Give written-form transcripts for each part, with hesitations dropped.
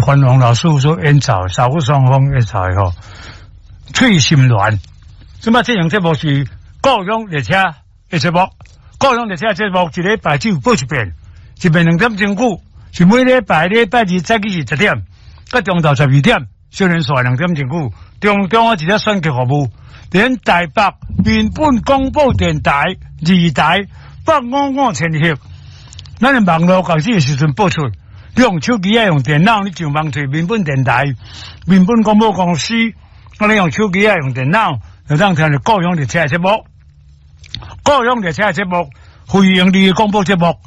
范王老師所演奏，薩克斯風演奏的吼，翠心鸞。這擺這樣節目是故鄉列車的節目，故鄉列車節目一禮拜只有播一遍，一遍2點鐘久，是每禮拜禮拜二早起是10點，到中晝12點，小連續2點鐘久，中中啊一個選曲服務，佇台北民本廣播電台二台855千赫，咱的網路開始的時陣播出，你用手機啊，用電腦，你上網揣民本電台、民本廣播公司，我你用手機啊，用電腦，就當聽著故鄉列車節目，故鄉列車節目，非營利廣播節目，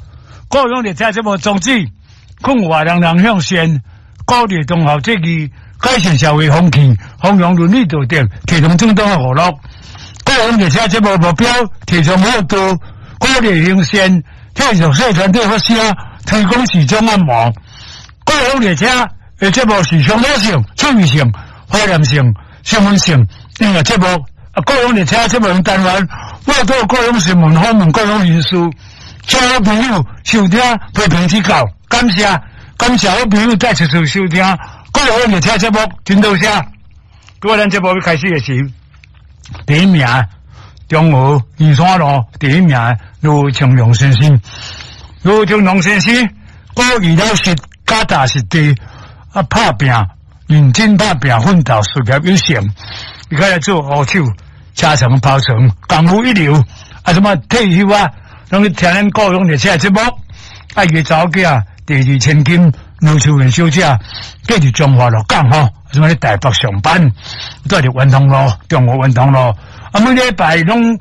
故鄉列車節目宗旨，勸話人人向善，鼓勵忠孝節義，改善社會風氣，弘揚倫理道德，提倡正當的娛樂。故鄉列車節目目標，提倡厚道，鼓勵行善，替弱勢團體發聲，推廣時裝按摩。故鄉列車的節目是鄉土性、趣味性、懷念性、新聞性音樂節目。啊，故鄉列車節目單元，報導故鄉新聞，訪問故鄉人士，請好朋友收聽，批評指教，感謝感謝好朋友再次收聽故鄉列車節目，真多謝。各位，咱節目要開始的時，第一名中和宜山路第一名盧清龍先生，盧清龍先生，古語老實，腳踏實地，啊，拍拚，認真拍拚，奮鬥事業有成，伊開來做烏手，車床刨床，功夫一流，啊，什麼退休啊，攏去聽咱故鄉列車節目，啊，伊的查某囝第二千金盧秋雲小姐，嫁佇彰化鹿港吼，什麼咧台北上班，住佇元通路，中和元通路，啊，每禮拜攏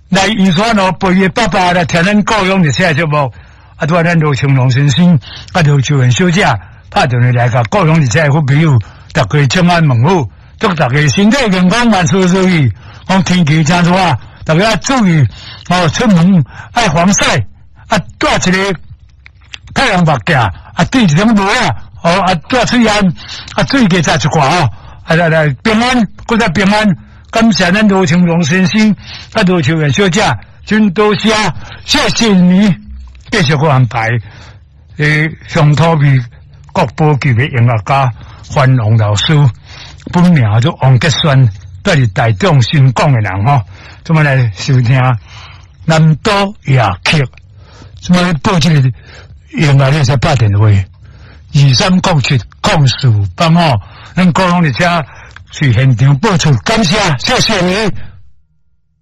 來宜山路陪伊的爸爸來聽咱故鄉列車節目，啊，拄仔咱盧清龍先生，啊，盧秋雲小姐，拍電話來共故鄉列車的好朋友，大家請安問好，祝大家身體健康，萬事如意。講天氣真熱，大家注意哦，出門愛防曬，啊，戴一个太陽目鏡，啊，戴一頂帽仔，哦，啊，戴喙罨，啊，水加食一寡哦，啊，來來平安，閣再平安，感謝咱盧清龍先生，啊，盧秋雲小姐，真多謝，謝謝你，繼續閣安排，鄉土味國寶級的音樂家范王老師，本名做王杰宣，住佇台中新港的人吼，這麼來收聽南島夜曲，這麼報這個音樂，你會使拍電話23070485，咱故鄉列車是現場播出，感謝，謝謝你。